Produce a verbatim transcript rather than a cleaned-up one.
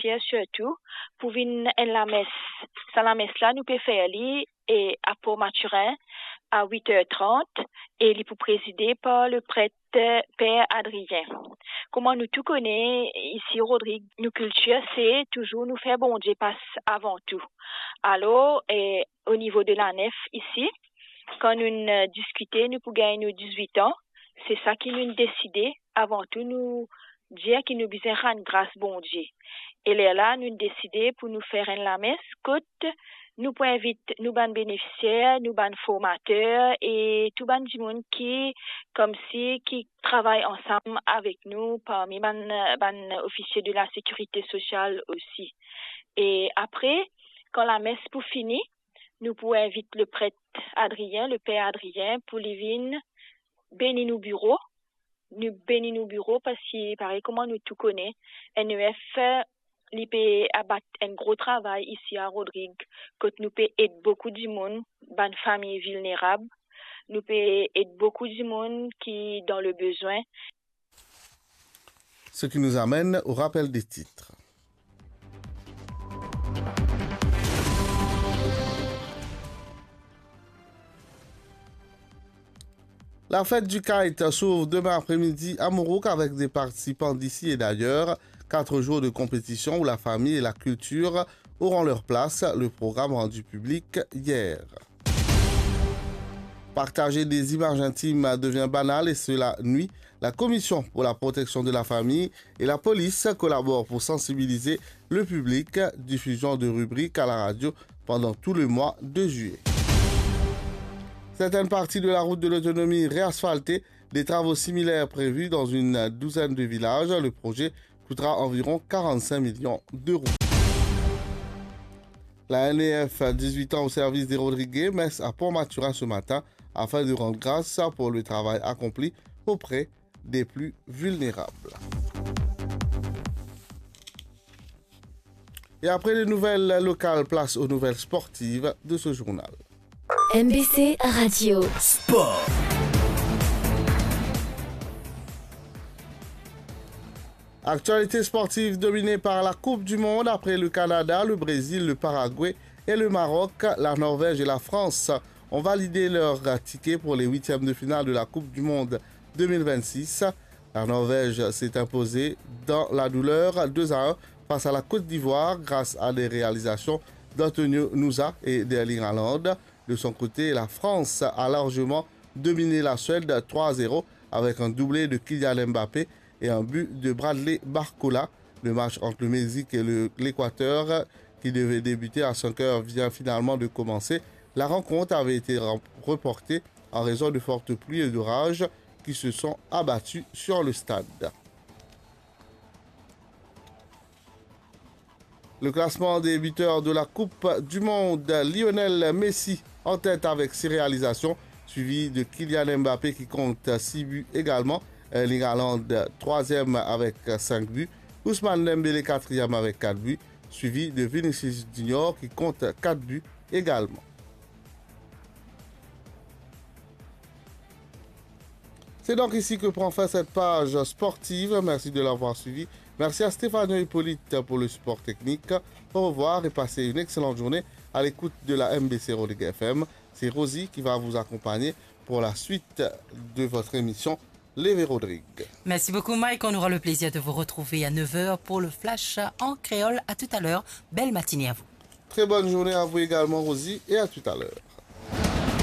Sirtou pou vinn enn lames. Sa lames la, nou pe fer li e a Port Mathurin a wit er trant e li pou prezide par le pret Per Adrien. Kouma nou tou kone, isi Rodrig, nou kiltir se touzour nou fer Bondie pas avan tou. Alor, eh, o nivo de lanef isi, kan nou, eh, diskite, nou pou gagn nou dizwit an, se sa ki nou deside, avan tou nou dir ki nou bizin rann gras Bondie. E lerla nou deside pou nou fer enn lames kot nou pou invit nou bann benefisier, nou bann formater e tou bann dimoun ki, koumsi, ki travay ansam avek nou, parmi bann, bann ofisie de la sekirite sosial osi. E apre, kan lames pou fini, nou pou invit le pret Adrien, le Per Adrien, pou li vinn beni nou biro. Nou beni nou biro parski, parey kouma nou tou kone, N E F, li pe abat enn gro travay isi a Rodrig, kot nou pe ed boukou dimoun, bann fami vilnerab, nou pe ed boukou dimoun ki dan le bezwin. Ce qui nous amène au rappel des titres. La fête du kite s'ouvre demain après-midi à Mourouk avec des participants d'ici et d'ailleurs. Quatre jours de compétition où la famille et la culture auront leur place. Le programme rendu public hier. Partager des images intimes devient banal et cela nuit. La Commission pour la protection de la famille et la police collaborent pour sensibiliser le public. Diffusion de rubriques à la radio pendant tout le mois de juillet. Certaines parties de la route de l'autonomie réasphaltées, des travaux similaires prévus dans une douzaine de villages. Le projet coûtera environ quarante-cinq millions d'euros. La N E F, dix-huit ans au service des Rodriguais, messe à Port-Mathurin ce matin afin de rendre grâce pour le travail accompli auprès des plus vulnérables. Et après les nouvelles locales, place aux nouvelles sportives de ce journal. M B C Radio. Sport. Actualité sportive dominée par la Coupe du Monde. Après le Canada, le Brésil, le Paraguay et le Maroc, la Norvège et la France ont validé leur ticket pour les huitièmes de finale de la Coupe du Monde deux mille vingt-six. La Norvège s'est imposée dans la douleur deux à un face à la Côte d'Ivoire grâce à des réalisations d'Antonio Nusa et d'Erling Haaland. De son côté, la France a largement dominé la Suède trois à zéro avec un doublé de Kylian Mbappé et un but de Bradley Barcola. Le match entre le Mexique et le, l'Équateur, qui devait débuter à cinq heures, vient finalement de commencer. La rencontre avait été rem-, reportée en raison de fortes pluies et d'orages qui se sont abattus sur le stade. Le classement des buteurs de la Coupe du Monde, Lionel Messi en tête avec six réalisations, suivi de Kylian Mbappé qui compte six buts également. Erling Haaland, troisième avec cinq buts. Ousmane Dembélé, quatrième avec quatre buts, suivi de Vinicius Junior qui compte quatre buts également. C'est donc ici que prend fin cette page sportive. Merci de l'avoir suivi. Merci à Stéphane Hippolyte pour le support technique. Au revoir et passez une excellente journée à l'écoute de la M B C Rodrigues F M. C'est Rosie qui va vous accompagner pour la suite de votre émission Les Véro Rodrigues. Merci beaucoup, Mike. On aura le plaisir de vous retrouver à neuf heures pour le flash en créole. À tout à l'heure. Belle matinée à vous. Très bonne journée à vous également, Rosie, et à tout à l'heure.